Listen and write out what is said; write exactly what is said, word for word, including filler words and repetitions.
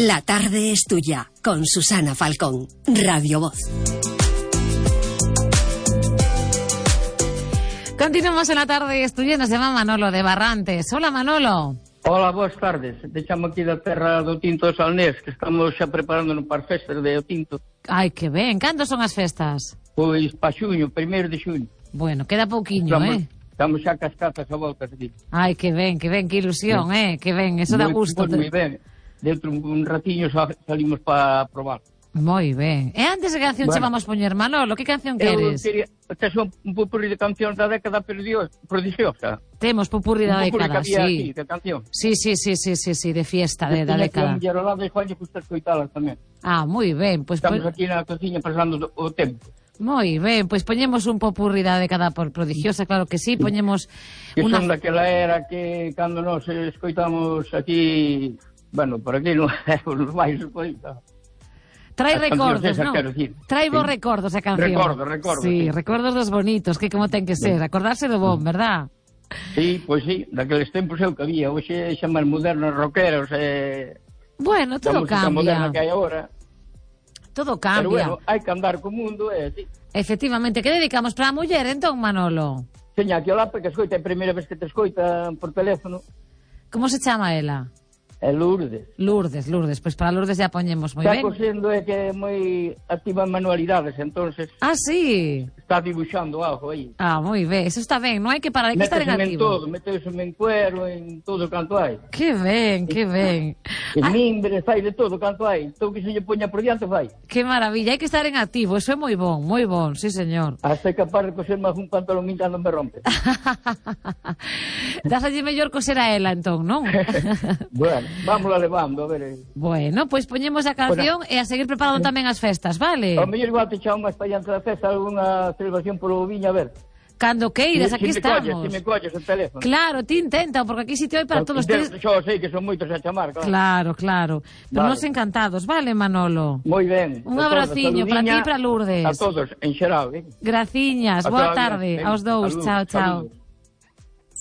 La tarde es tuya, con Susana Falcón, Radio Voz. Continuamos en La tarde es tuya, nos llama Manolo de Barrantes. Hola, Manolo. Hola, boas tardes. Te chamo aquí da terra do Tinto de Salnés, que estamos xa preparándonos para as festas de O Tinto. Ai, que ben. Cando son as festas? Pois pa xuño, primeiro de xuño. Bueno, queda pouquiño, estamos, eh? Estamos xa cas cartas a voltas aquí. Ai, que ben, que ben, que ilusión, eh? Que ben, eso dá gusto. Moi ben. Dentro un ratiño salimos para probar. Moi ben. E antes de canción bueno, che vamos poñer, Manolo, que canción queres? Eu queria, tes un, un pupurri de cancións da década prodigiosa. Temos pupurri da un década, sí. Sí. De canción. Sí, sí, sí, sí, sí, sí, de fiesta de, da década. E a lado de Juan que gusta escoitalas tamén. Ah, moi ben. Pues, Estamos pues... aquí na cociña pasando o tempo. Moi ben, pois pues poñemos un popurri da década por prodigiosa, claro que sí, poñemos que una... son daquela era que cando nos escoitamos aquí, bueno, por aquí non é os máis escoita. Trae As recordos, non? Trae vos sí. recordos a canción. Recordos, recordos. Sí, sí, recordos dos bonitos, que como ten que ser, acordarse do bon, verdad? Sí, pois pues sí, daqueles tempos é o que había, hoxe xa máis modernos rockeros e... Bueno, todo cambia. A moderna que hai agora. Todo cambia. Pero bueno, hai que andar co mundo e así. Efectivamente, que dedicamos para a muller, entón, Manolo? Seña, que olá, porque escoita, é a primeira vez que te escoita por teléfono. Como se chama ela? É Lourdes. Lourdes, Lourdes, pois para Lourdes já poñemos moi ben. Está cosendo é que é moi activa en manualidades, entonces... Ah, sí? Está dibuixando algo aí. Ah, moi ben, eso está ben, non hai que parar, hai que estar en activo. Métese en todo, métese en cuero, en todo canto hai. Que ben, que ben. En ah. mimbre, fai de todo canto hai. Todo que se lle poña por diante fai. Que maravilla, hai que estar en activo, eso é moi bon, moi bon, sí señor. Hasta é capaz de coser máis un pantalón mientras non me rompe. Dásalle mellor coser a ela, entón, non? Bueno, vamos a levando, a ver. Bueno, pois pues poñemos a canción bueno. E a seguir preparando tamén as festas, vale? Ao mellor igual te chamo máis para diante da festa alguna celebración polo viña, a ver. Cando queiras, aquí si estamos. Colles, si me colles o teléfono. Claro, ti intenta, porque aquí sitio hai para todos. Tienes... Xo sei que son moitos a chamar, claro. Claro, claro. Pero vale. Nos encantados, vale, Manolo? Moi ben. Un abraciño para ti e para Lourdes. A todos, en xeral, eh? Graciñas, boa tarde. Aos dous, chao, chao.